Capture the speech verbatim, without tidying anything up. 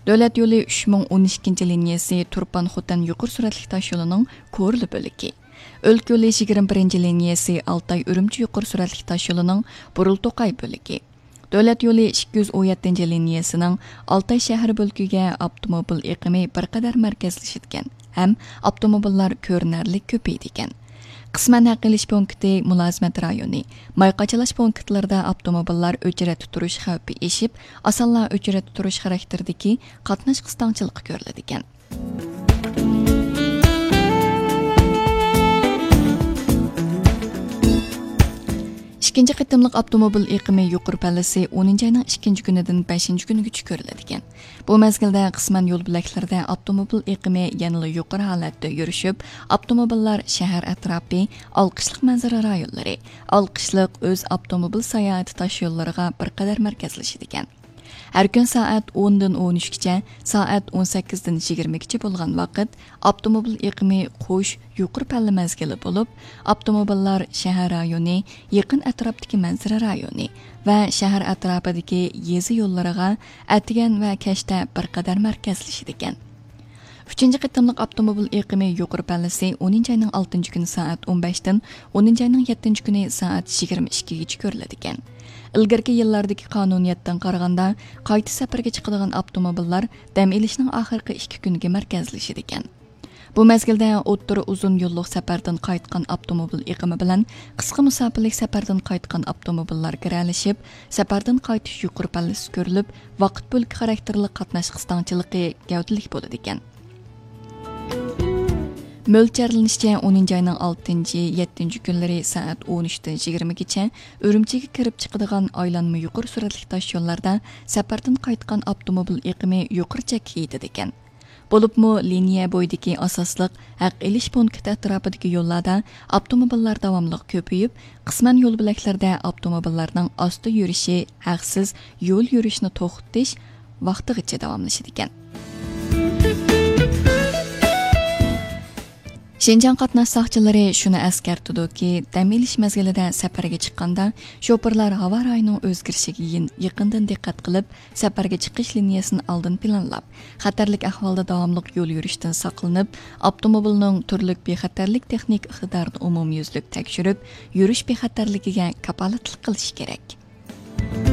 دۆلەت يولى ئۈچ مىڭ ئون ئىككىنچى لىنىيەسى تۇرپان خوتەن يۇقىرى سۈرئەتلىك تاش يولىنىڭ كورلا بۆلىكى. ئۆلكە يولى يىگىرمە بىرىنچى لىنىيەسى ئالتاي ئۈرۈمچى يۇقىرى سۈرئەتلىك تاش يولىنىڭ بۇرۇل توقاي بۆلىكى. دۆلەت يولى ئىككى يۈز ئون يەتتىنچى لىنىيەسىنىڭ ئالتاي شەھەر بۆلىكىگە ئاپتوموبىل ئېقىمى بىر قەدەر مەركەزلىشىدىكەن ھەم ئاپتوموبىللار كۆرۈنەرلىك كۆپىيىدىكەن. قىسمەن ھەق ئېلىش پونكىتى، مۇلازىمەت رايونى، ماي قاچىلاش پونكىتلىرىدا ئاپتوموبىللار ئۆچرەتتە تۇرۇش خەۋپى ئېشىپ، ئاسانلا ئۆچرەتتە تۇرۇش خاراكتېرىدىكى قاتناش قىستاڭچىلىقى كۆرۈلىدىكەن. ئىككىنچى قېتىملىق ئاپتوموبىل ئېقىمى يۇقىرى پەللىسى ئونىنچى ئاينىڭ ئىككىنچى كۈنىدىن بەشىنچى كۈنىگىچە كۆرۈلىدىكەن. بۇ مەزگىلدە قىسمەن يول بۆلەكلىرىدە ئاپتوموبىل ئېقىمى يەنىلا يۇقىرى ھالەتتە يۈرۈشۈپ، ئاپتوموبىللار شەھەر ئەتراپى، ئالقىشلىق مەنزىرە رايونلىرى، ئالقىشلىق ئۆز ئاپتوموبىل ساياھىتى تاش يوللىرىغا بىر قەدەر مەركەزلىشىدىكەن. ھەر كۈن سائەت ئوندىن ئون ئۈچكىچە، سائەت ئون سەككىزدىن يىگىرمىگىچە بولغان ۋاقىت ئاپتوموبىل ئېقىمى قوش يۇقىرى پەللە مەزگىلى بولۇپ، ئاپتوموبىللار شەھەر رايونى، يېقىن ئەتراپتىكى مەنزىرە رايونى ۋە شەھەر ئەتراپىدىكى يېزا يوللىرىغا ئەتىگەن ۋە كەچتە بىر قەدەر مەركەزلىشىدىكەن. ئۈچىنچى قېتىملىق ئاپتوموبىل ئېقىمى يۇقىرى پەللىسى ئونىنچى ئاينىڭ ئالتىنچى كۈنى سائەت ئون بەشتىن ئونىنچى ئاينىڭ يەتتىنچى كۈنى سائەت يىگىرمە ئىككىگىچە كۆرۈلىدىكەن. ئىلگىرىكى يىللاردىكى قانۇنىيەتتىن قارىغاندا، قايتا سەپەرگە چىقىدىغان ئاپتوموبىللار دەم ئېلىشنىڭ ئاخىرقى ئىككى كۈنىگە مەركەزلىشىدىكەن. بۇ مەزگىلدە ئوتتۇرا ئۇزۇن يوللۇق سەپەردىن قايتقان ئاپتوموبىل ئېقىمى بىلەن قىسقا مۇساپىلىك سەپەردىن قايتقان ئاپتوموبىللار گىرەلىشىپ، سەپەردىن قايتىش يۇقىرى پەللىسى كۆرۈلۈپ، ۋاقىت بۆلىكى خاراكتېرلىك قاتناش قىستاڭچىلىقى گەۋدىلىك بولىدىكەن. مۆلچەرلىنىشىچە، ئونىنچى ئاينىڭ ئالتىنچى، يەتتىنچى كۈنلىرى سائەت ئون ئۈچتىن يىگىرمىگىچە ئۈرۈمچىگە كىرىپ چىقىدىغان ئايلانما يۇقىرى سۈرئەتلىك تاش يوللاردا سەپەردىن قايتقان ئاپتوموبىل ئېقىمى يۇقىرى چەككە يېتىدىكەن. بولۇپمۇ لىنىيە بويىدىكى ئاساسلىق ھەق ئېلىش پونكىتى ئەتراپىدىكى يوللاردا ئاپتوموبىللار داۋاملىق كۆپىيىپ، قىسمەن يول بۆلەكلىرىدە ئاپتوموبىللارنىڭ ئاستا يۈرۈشى ھەقسىز يول يۈرۈشنى توختىتىش ۋاقتىغىچە داۋاملىشىدىكەن. شىنجاڭ قاتناش ساقچىلىرى شۇنى ئەسكەرتىدۇكى، دەم ئېلىش مەزگىلىدە سەپەرگە چىققاندا، شوپۇرلار ھاۋا رايىنىڭ ئۆزگىرىشىگە يېقىندىن دىققەت قىلىپ، سەپەرگە چىقىش لىنىيەسىنى ئالدىن پىلانلاپ، خەتەرلىك ئەھۋالدا داۋاملىق يول يۈرۈشتىن ساقلىنىپ، ئاپتوموبىلنىڭ تۈرلۈك بىخەتەرلىك تېخنىكا ئىقتىدارىنى ئومۇميۈزلۈك تەكشۈرۈپ، يۈرۈش بىخەتەرلىكىگە كاپالەتلىك قىلىشى كېرەك.